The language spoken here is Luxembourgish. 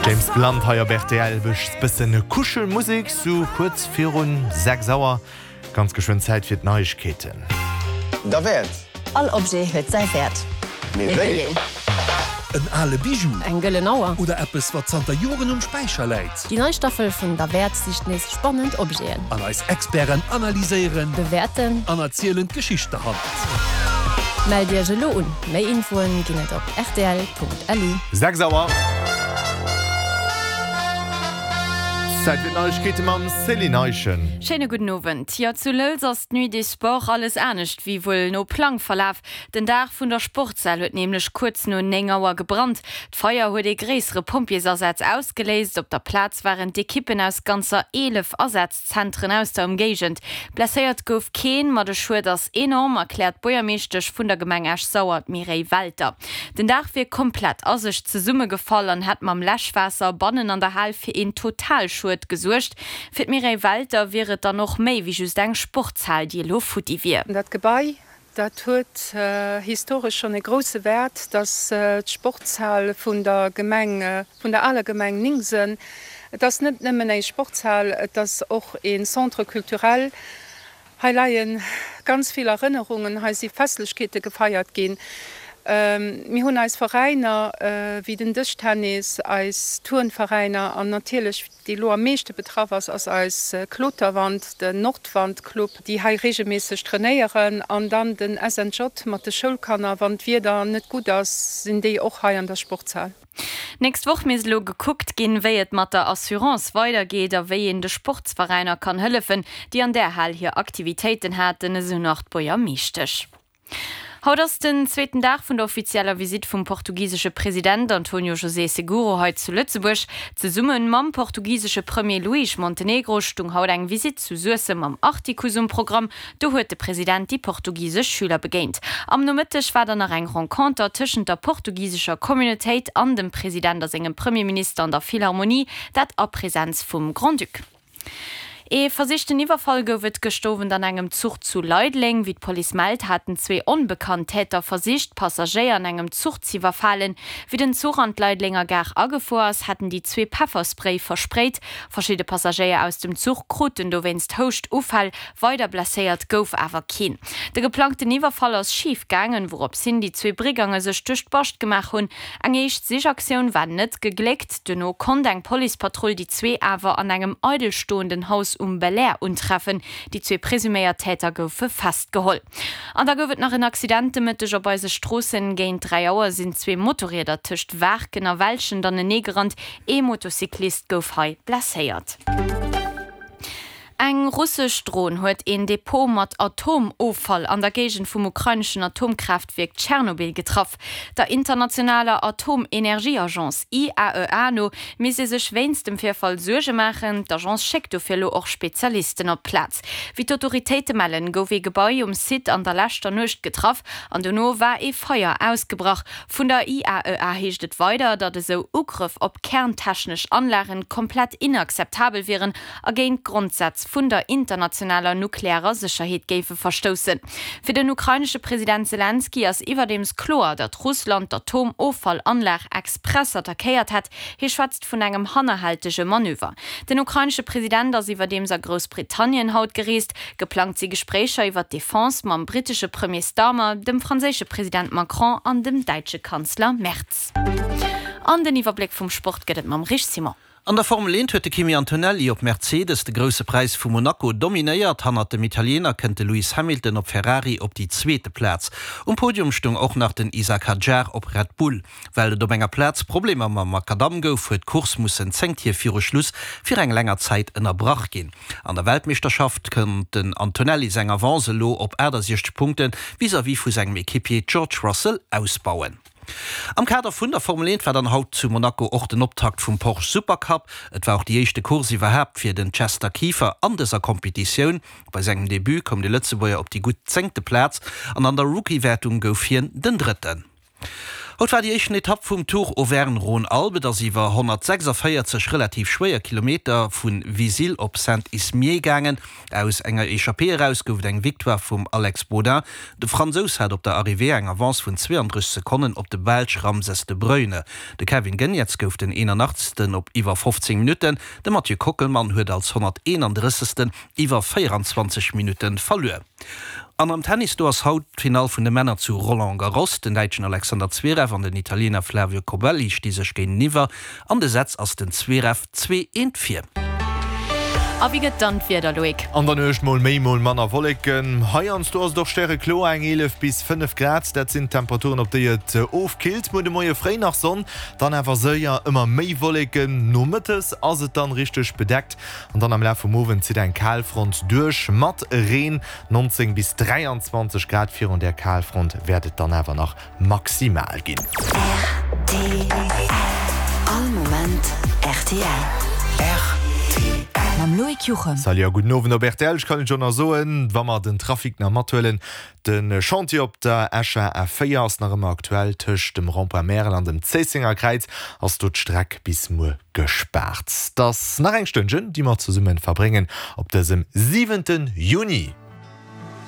James Blunt hei op rtl, bëssen Kuschelmusek sou kuerz virun 6 Auer. Ganz geschwënn Zäit fir d'Neiegkeeten. Derwäert! All Objet huet säi Wäert. Mee wéi een? En ale Bijou. Eng gëllen Auer. Oder eppes, wat zanter Joren um Späicher läit. Déi nei Staffel vun Derwäert sicht nees spannend Objeten. An eis Experten analyséieren. Bewäerten. An erzielen d'Geschicht derhannert. Mellt Iech elo un! Méi Infoen ginn et op rtl.lu. 6 Auer. Zäit fir d'Neiegkeete mam Céline Eischen. Schéine gudden Owend. Jo, zu Lëlz ass d'Nuit des Sports alles anescht wéi wuel no Plang verlaf. Den Daach vun der Sportshal huet nämlech kuerz no 9 Auer gebrannt. D'Feier huet ee gréissere Pompjeesasaz ausgeléist. Op der Plaz waren d'Ekippen aus ganzer 11 Asazzentren aus der Ëmgéigend. Blesséiert gouf keen, ma de Schued ass enorm, erkläert d'Buergermeeschtesch vun der Gemeng Esch-Sauer, d'Mireille Welter. Den Daach wier komplett a sech zesummegefall an hätt mam Läschwaasser bannen an der Hal fir een Totalschued gesuergt. Fir d'Mireille Welter wier et dann och méi wéi just eng Sportshal, déi elo futti wier. Dat Gebai, dat huet historesch schonn e grousse Wäert. Dat ass d'Sportshal vun der Gemeng, vun der aler Gemeng Ningsen. Et ass net nëmmen eng Sportshal, et ass och ee Centre culturel. Hei leie ganz vill Erënnerungen, hei si Festlechkeete gefeiert ginn. Mir hunn eis Veräiner wéi den Dëschtennis, eis Turnveräiner an natierlech, déi elo am meeschte betraff ass, ass eis Kloterwand, den Nordwand-Club, déi hei reegelméisseg trainéieren. An dann den SNJ mat de Schoulkanner, wann d'Wieder net gutt ass, sinn déi och hei an der Sportshal. D'nächst Woch misst elo gekuckt ginn, wéi et mat der Assurance weidergeet a wéi een de Sportsveräiner kann hëllefen, déi an där Hal hir Aktivitéiten haten, esou nach d'Buergermeeschtesch. Haut ass den zweeten Dag vun der offizieller Visitt vum portugisesche President Antonio José Seguro hei zu Lëtzebuerg. Zesumme mam portugisesche Premier Luís Montenegro stung haut eng Visitt zu Suessem am Artikuss um Programm. Do huet de President déi portugisesch Schüler begéint. Am Nomëtteg war dann nach eng Renconter tëschent der portugisescher Communautéit an dem President a sengem Premierminister an der Philharmonie, dat a Presenz vum Grand-Duc. Ee versichten Iwwerfall gouf et gëscht Owend an engem Zuch zu Leideleng. Wéi d'Police mellt, haten zwee onbekannt Täter versicht, Passagéier an engem Zuch z'iwwerfalen. Wéi den Zuch an d'Leidelenger Gare agefuer ass, hätten déi zwee Pefferspray versprayt. Verschidde Passagéier aus dem Zuch kruten dowéinst Houschtuffäll. Weider blesséiert gouf awer keen. De geplangten Iwwerfall ass schif gaangen, wourops hin déi zwee Brigange sech duerch d'Bascht gemaach hunn. Eng éischt Sichaktioun war net gegléckt. Duerno konnt eng Policepatrull déi zwee awer an engem eidelstoenden Haus um Belair untreffen. Déi zwee presuméiert Täter goufe festgeholl. An da gouf et nach en Accident de Mëtteg op eise Stroossen. Géint 3 Auer sinn zwee Motorrieder tëscht Waarken a Welschent aneneegerannt. Ee Motocyclist gouf hei blesséiert. Eng russesch Dron huet een Depot mat Atomoffall an der Géigend vum ukraineschen Atomkraaftwierk Tschernobyl getraff. Der internationaler Atomenergieagence IAEA no misst ee sech wéinst dem Virfall Suerge maachen. D'Agence schéckt dofir elo och Spezialisten op d'Plaz. Wéi d'Autoritéite mellen, gouf ee Gebai um Site an der leschter Nuecht getraff an dono war ee Feier ausgebrach. Vun der IAEA heescht et weider, datt esou Ugrëff op kerntechnesch Anlagen komplett inakzeptabel wieren a géint d'Grondsätz vun der internationaler nuklearer Sécherheet géife verstoussen. Fir den ukrainesche President Selenskyj ass iwwerdeems kloer, datt Russland d'Atomoffallanlag express attackéiert hätt. Hie schwätzt vun engem hannerhältege Manöver. Den ukrainesche President ass iwwerdeems a Groussbritannien haut gereest. Geplangt si Gespréicher iwwer d'Defense mam brittesche Premier Starmer, dem franséische President Macron an dem däitsche Kanzler Merz. An den Iwwerbléck vum Sport gëtt et mam Rich Simon. An der Formel 1 huet de Kimi Antonelli op Mercedes de Grousse Präis vu Monaco dominéiert. Hannert dem Italiener kënnt de Lewis Hamilton op Ferrari op déi zweete Plaz. Um Podium stoung och nach den Isack Hadjar op Red Bull. Well et op enger Plaz Problemer mam Makadamm gouf, huet d'Course mussen 10 Tier viru Schluss fir eng länger Zäit ënnerbrach ginn. An der Weltmeeschterschaft konnt den Antonelli seng Avance elo op 68 Punkte vis-à-vis vu sengem Equipier George Russell ausbauen. Am Kader vun der Formel 1 war dann haut zu Monaco och den Optakt vum Porsche Supercup. Et war och déi éischte Course iwwerhaapt fir den Chester Kieffer an dëser Competitioun. Bei sengem Debut koum de Lëtzebuerger op déi gutt zéngte Plaz an an der Rookie-Wäertung gouf hien den Drëtten. Haut war déi éischten Etapp vum Tour Auvergne-Rhône-Alpes. Et ass iwwer 146 relativ schwéier Kilometer vu Vizille op Saint-Ismier gaangen. Aus enger Echappée eraus gouf et eng Victoire vum Alex Baudin. De Fransous hat op der Arrivée eng Avance vun 32 Sekonnen op de Belsch Ramses de Bruyne. De Kevin Geniets gouf den 81. op iwwer 15 Minutten. De Mathieu Kockelmann huet als 131. iwwer 24 Minutte verluer. An am Tennis, do ass haut d'Finall vun de Männer zu Roland Garros. Den Däitschen Alexander Zverev an den Italiener Flavio Cobolli sti sech géinteniwwer. An de Sätz ass den Zverev 2, 1 vir. A wéi gëtt dann d'Wieder, Loïc? An der Nuecht mol méi, mol manner Wolleken. Heiansdo ass et och stärekloer, eng 11 bis 5 Grad, dat sinn d'Temperaturen, op déi et ofkillt. Muer de Moie fréi nach Sonn, dann awer séier ëmmer méi Wolleken. Nomëttes ass et dann richteg bedeckt An dann am Laf vum Owend zitt eng Kalfront duerch mat Reen, 19 bis 23 Grad. Virun där Kalfront wäert et dann awer nach maximal ginn. Rtl, All Moment rtl. Rtl. Mam Loïc Juchem. Salut a gudden Owend op rtl. Ech kann et jo nach soen, wa mer den Trafic nach mathuelen, De Chantier op der Escher A4 ass nach ëmmer aktuell. Tëscht dem Rond-point Märel an dem Zéissenger Kräiz ass do d'Streck bis muer gespaart. 't ass nach eng Stënnchen, déi mer zesumme verbréngen op dësem siwente Juni.